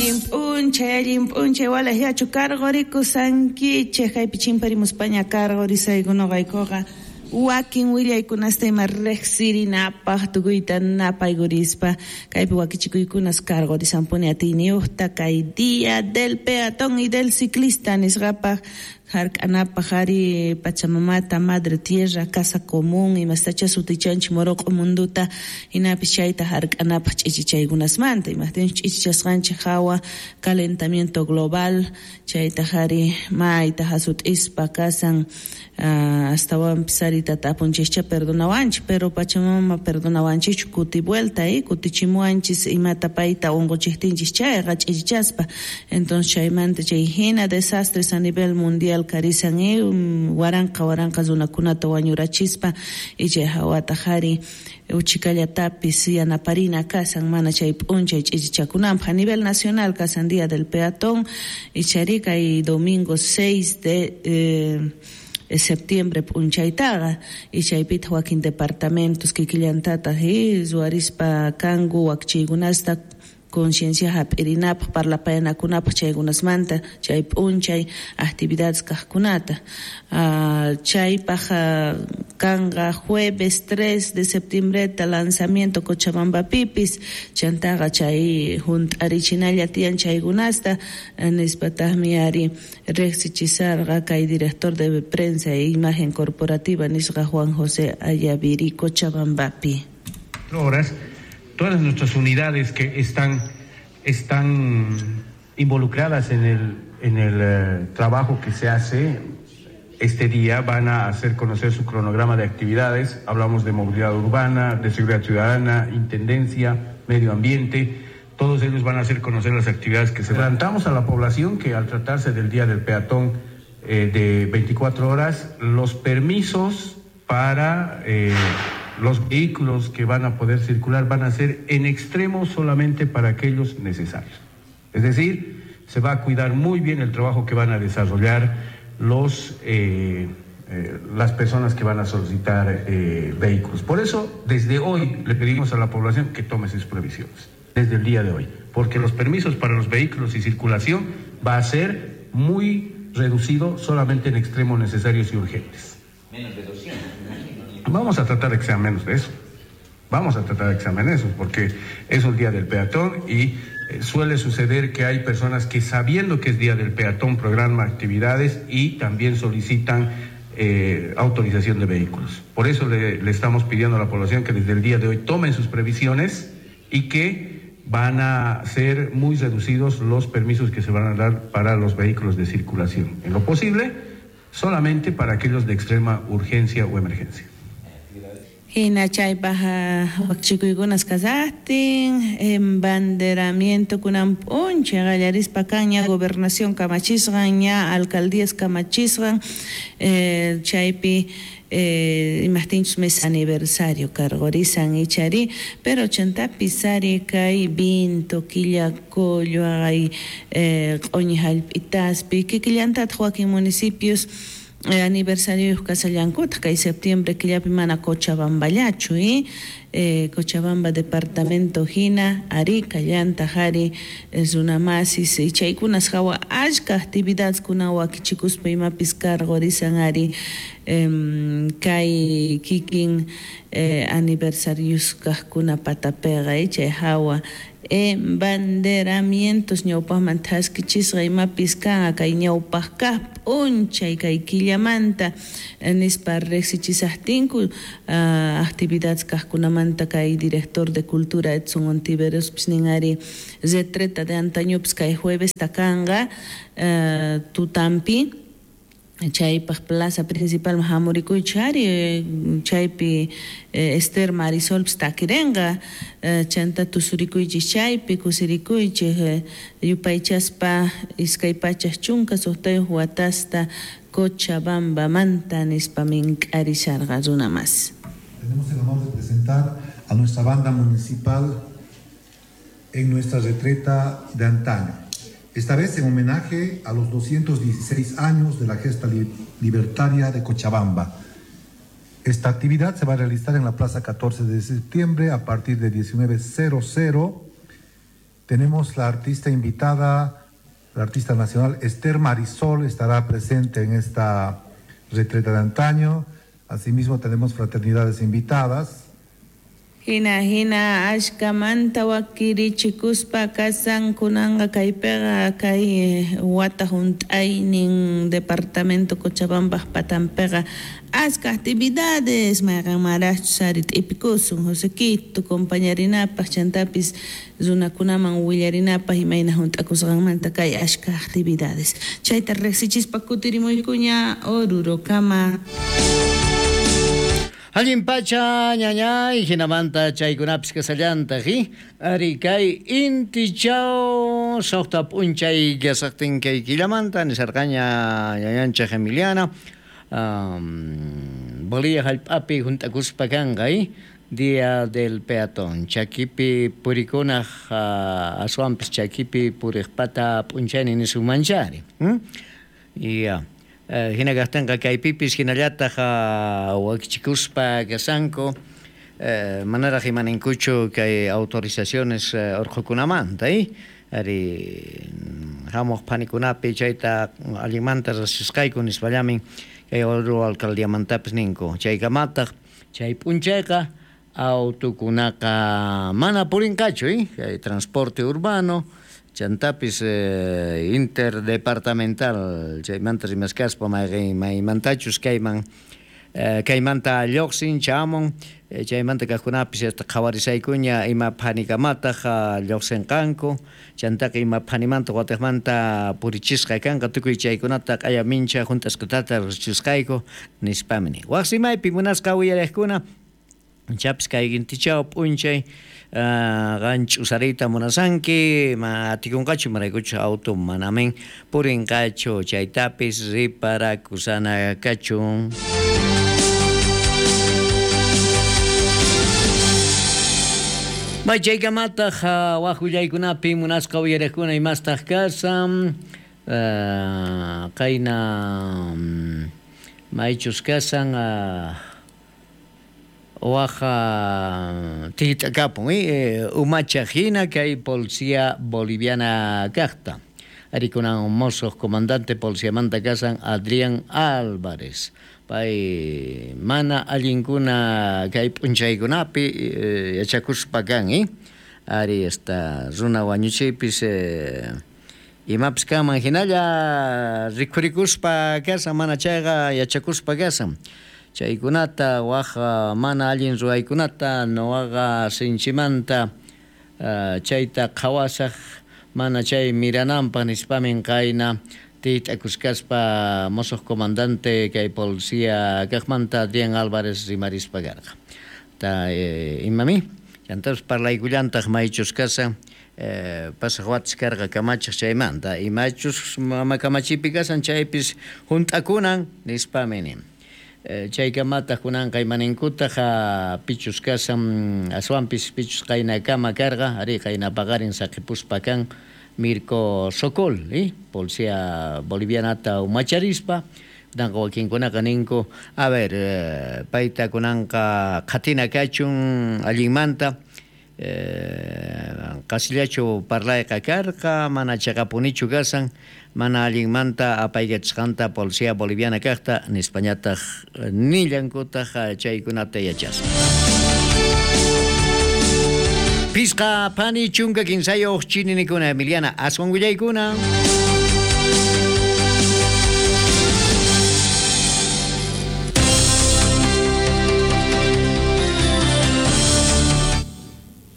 Allin p'unchay walejllachu karqurikushankichej kaypi chimparimuspaña karqurisayku noqaykuqa wakin willaykunasta ima riqsirinapaq tukuyta napaykurispa kaypi wakichikuykunas karqurisanpuni atiyniyuqta kay día del peatón y del ciclista nisqapaq hark'anapaq ari Pachamamata, Madre Tierra, Casa Común imastacha sutichanchik Moroq'o munduta hinapis chayta hark'anapaq ch'ichichaykunasmanta imajtinchus ch'ichichasqanchik hawa calentamiento global chaytaq ari mayta hasut'ispa kasan astawanpis ari tata apunchikcha perdonawanchik pero Pachamama perdonawanchikchu kuti vuelta kutichimuwanchis imata payta unquchiktinchis chayqa ch'ichichaspa entonces chaymanta chay hina desastres a nivel mundial karisan waranqa waranqa runakunata wañurachispa y chay hawataq ari uchikallatapis yanaparina kasan mana chay p'unchay ch'ichichakunanpaq a nivel nacional kasan día del peatón y chari kay domingo 6 de septiembre p'unchaytaqa y chaypitaq wakin departamentos kikillantataq ruwarispa kanku wakchiykunasta conciencia hap'irinapaq parlapayanakunapaq chaykunasmanta chay p'unchay actividades kaqkunata chaypaq kanqa jueves 3 de septiembreta lanzamiento Cochabambapipis chantaqa chay hunt'arichinalla tiyan chaykunasta nispataqmi ari riqsichisarqa kay director de prensa e imagen corporativa nisqa Juan José Ayaviri Cochabambapi. Horas todas nuestras unidades que están involucradas en el trabajo que se hace este día van a hacer conocer su cronograma de actividades. Hablamos de movilidad urbana, de seguridad ciudadana, intendencia, medio ambiente. Todos ellos van a hacer conocer las actividades que se plantamos a la población que al tratarse del Día del Peatón de 24 horas, los permisos para los vehículos que van a poder circular van a ser en extremo solamente para aquellos necesarios. Es decir, se va a cuidar muy bien el trabajo que van a desarrollar las personas que van a solicitar vehículos. Por eso, desde hoy le pedimos a la población que tome sus previsiones, desde el día de hoy, porque los permisos para los vehículos y circulación va a ser muy reducido solamente en extremos necesarios y urgentes. Menos de 200, me imagino. Vamos a tratar de que sean menos de eso. Vamos a tratar de que sean menos de eso, porque es un día del peatón y suele suceder que hay personas que sabiendo que es día del peatón programan actividades y también solicitan autorización de vehículos. Por eso le estamos pidiendo a la población que desde el día de hoy tomen sus previsiones y que van a ser muy reducidos los permisos que se van a dar para los vehículos de circulación. En lo posible, solamente para aquellos de extrema urgencia o emergencia. Hina chaypaq wakchikuykunas kasaqtin embanderamiento kunan p'unchay qallarispa kan ña gobernación kamachisqan ña alcaldías kamachisqan chaypi imajtinchus mes aniversario karqurisan ichari pero chantapis ari kay vinto Quillacollo ay q'uñi hallp'itaspi kikillantataq wakin municipios aniversario kasallankutaq kay septiembre killapi mana Cochabamballachu Cochabamba departamento hina Arica llantaq ari runamasis chaykunas hawa achka actividades kuna wakichikuspa imapis karqurisan ari kay kikin aniversarios kaqkuna patapiqa chay hawa embanderamientos ñawpaqman thaskichisqa imapis kanqa kay ñawpaq kaq p'unchay kay killamanta nispa riqsichisaqtinku actividades kaqkunamanta kay director de cultura Edson Ontiverospis nin ari retreta de antañopis kay juevesta kanqa tutampi chaypaq plaza principal hamurikuychik ari chaypi Esther Marisolpis takirenqa chanta tusurikuychik chaypi kusirikuychik yupaychaspa 216 watasta Cochabambamanta nispa mink'arisharqa runa mas. Tenemos el honor de presentar a nuestra banda municipal en nuestra retreta de antaño. Esta vez en homenaje a los 216 años de la gesta libertaria de Cochabamba. Esta actividad se va a realizar en la Plaza 14 de septiembre a partir de 19:00 Tenemos la artista invitada, la artista nacional Esther Marisol estará presente en esta retreta de antaño. Asimismo tenemos fraternidades invitadas. Hina hina ashkamanta wakirichikuspa kasan kunanqa kaypiqa kay wata hunt'aynin departamento Cochabamba patanpiqa aska actividades mayqanmaraqchus ari t'ipikusun Josequito compañarinapaq chantapis runakunaman willarinapaq imayna hunt'akusqanmanta kay ashka actividades chayta riqsichispa kutirimuykuña Orurokama. Allin pacha ñañay hinamanta chaykunapis kasallantaq ari kay intichaw suqta p'unchay kasaqtin kay killamanta nisarqaña ñañanchik Emiliana Bolivia hallp'api hunt'akuspa kanqa Día del Peatón chakipi purikunaq aswanpis chakipi puriqpata p'unchayni nisunmanchari ya. Hina kaqtinqa kaypipis hinallataq wakichikuspa kasanku manaraq imaninkuchu kay autorizaciones urqukunamanta ari hamuq phanikunapi chayta allinmanta riqsisqayku nispallamin kay Oruro alcaldiamantapis ninku chaykamataq chay p'unchayqa autokunaqa mana purinqachu kay transporte urbano chantapis interdepartamental chaymanta rimaskaspa maymantachus kayman kaymanta lluqsin chamun chaymanta kaqkunapis hasta qhawarisaykuña ima phanikamataq lluqsinqanku chantaqa ima phanimanta watiqmanta purichisqa kanqa tukuy chaykunata q'aya mincha hunt'asqatata riqsisqayku nispami nin. Waq rimaypi munasqa uyariqkuna chapis kay intichaw p'unchay qan ch'usariyta munasanki ma atikunqachu imaraykuchu auto manamin purinqachu chaytapis riparakusana kachun. May chaykamataq waq willaykunapi munasqa uyariqkuna imastaq kasan qayna maychus kasan waja tit'akapun umacha hina kay policía boliviana kaqta arikunan mosoq comandante policiamanta kasan Adrián Álvarez pay mana allinkuna kay p'unchaykunapi yachakuspa kan ari esta runa wañuchiypis imapis kanman hinalla rikhurikuspa kasan mana chayqa yachakuspa kasan chaykunata waq mana allin ruwaykunata nuwaqa sinchimanta chayta qhawasaq mana chay mirananpaq nispamin qayna tit'akuskaspa mosoq comandante kay policía kaqmanta Adrián Álvarez rimarispa karqa ta imami chantapis parlaykullantaq maychus kasan pasaq watas karqa kamachiq chaymanta imachus mama kamachipi kasan chaypis hunt'akunan nispami nin. Chaykamataq kunanqa imaninkutaq pichus kasan aswanpis pichus qaynakama karqa ari qayna paqarin saqipuspa kan Mirko Sokol policía bolivianata umacharispa kunanqa wakinkunaqa ninku a ver payta kunanqa qhatina kachun allinmanta qasillachu parlayqa karqa mana chaqapunichu kasan mana allinmanta apaykachisqanta policía boliviana kaqta nispañataq nillankutaq chaykunata yachaspa. Pisqa phani chunka kinsayuq chininikuna Emiliana aswan willaykuna.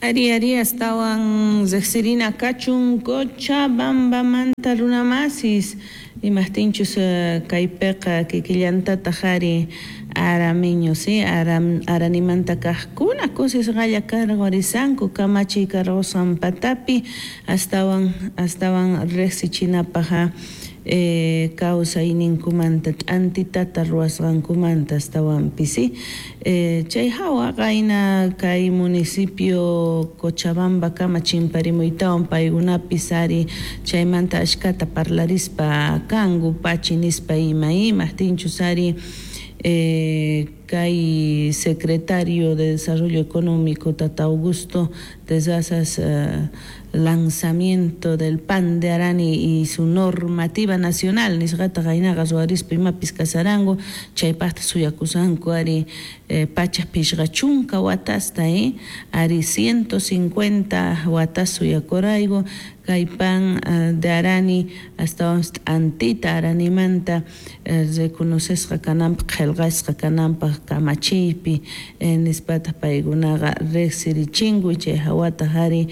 Ari ari astawan riqsirina kachun Cochabambamanta runamasis imaqtinchus kaypiqa kikillantataq ari aramiño si aranimanta kaqkuna kusisqalla karqurisanku kamachiy karqusqan patapi astawan riqsichinapaq kawsayninkumanta t'antitata ruwasqankumanta astawanpis chay hawa qayna kay municipio Cochabamba kama chimparimuytawan paykunapis ari chaymanta ashkata parlarispa kanku pachi nispa ima imaqtinchus ari Kay secretario de Desarrollo Económico Tata Augusto Terrazas lanzamiento del pan de Arani y su normativa nacional nisqata qaynaqa ruwarispa imapis kasaranku chaypaqta suyakusanku ari 150 watasta ari 150 watas suyakurayku kay pan de Arani astawan t'antita Aranimanta reconocesqa kananpaq qillqasqa kananpaq kamachiypi nispataq paykunaqa riqsirichinku chay hawataq ari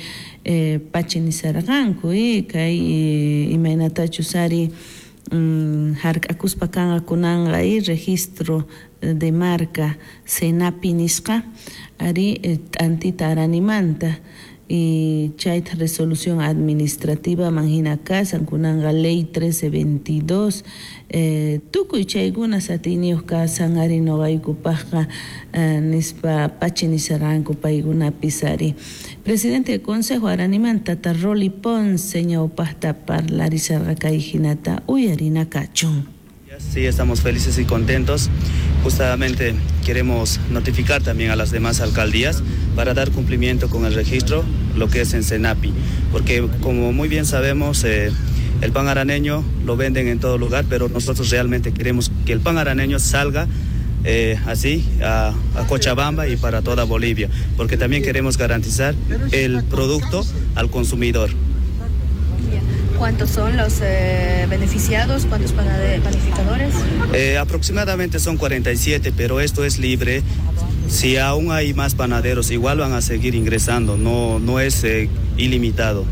pachi nisarqanku kay imaynatachus ari hark'akuspa kanqa kunanqa registro de marca SENAPI nisqa ari t'antita Aranimanta y chayta resolución administrativa man hina kasan kunanqa ley 1322 tukuy chaykuna satiniyuq kasan ari noqaykupaqqa nispa pachi nisarqanku paykunapis ari. Presidente del Consejo Aranimanta Tata Rolly Ponce ñawpaqta parlarisarqa kay hinata uyarina kachun. Sí, estamos felices y contentos. Justamente queremos notificar también a las demás alcaldías para dar cumplimiento con el registro, lo que es en SENAPI, porque como muy bien sabemos, el pan araneño lo venden en todo lugar, pero nosotros realmente queremos que el pan araneño salga así a Cochabamba y para toda Bolivia, porque también queremos garantizar el producto al consumidor. ¿Cuántos son los beneficiados? ¿Cuántos panificadores? Aproximadamente son 47, pero esto es libre. Si aún hay más panaderos, igual van a seguir ingresando, no es ilimitado.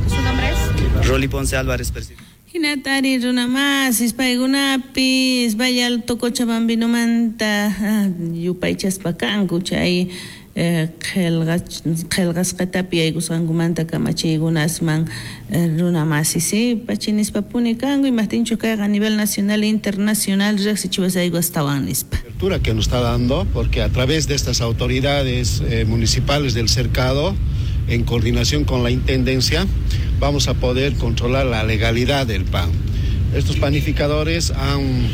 ¿Su nombre es? Rolly Ponce Álvarez, presidente. Hinatari runamasis paykunapis Valle Alto Cochabambinomanta yupaychaspa kanku chay qillqasqatapi yaykusqankumanta kamachiykunasman runamasis pachinispa puni kanku imajtinchu kayqa a nivel nacional e internacional riqsichiwasayku astawan nispa. Apertura que nos está dando, porque a través de estas autoridades municipales del cercado, en coordinación con la Intendencia, vamos a poder controlar la legalidad del pan. Estos panificadores han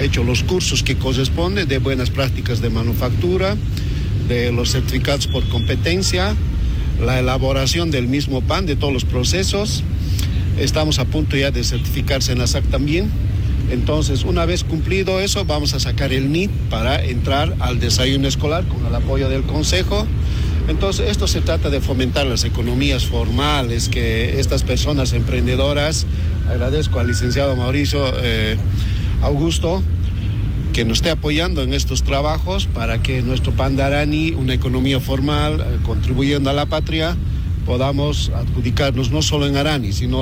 hecho los cursos que corresponden de buenas prácticas de manufactura, de los certificados por competencia, la elaboración del mismo pan, de todos los procesos. Estamos a punto ya de certificarse en la SAC también. Entonces, una vez cumplido eso, vamos a sacar el NIT para entrar al desayuno escolar con el apoyo del Consejo. Entonces, esto se trata de fomentar las economías formales, que estas personas emprendedoras, agradezco al licenciado Mauricio Augusto, que nos esté apoyando en estos trabajos para que nuestro pan de Arani, una economía formal, contribuyendo a la patria, podamos adjudicarnos no solo en Arani, sino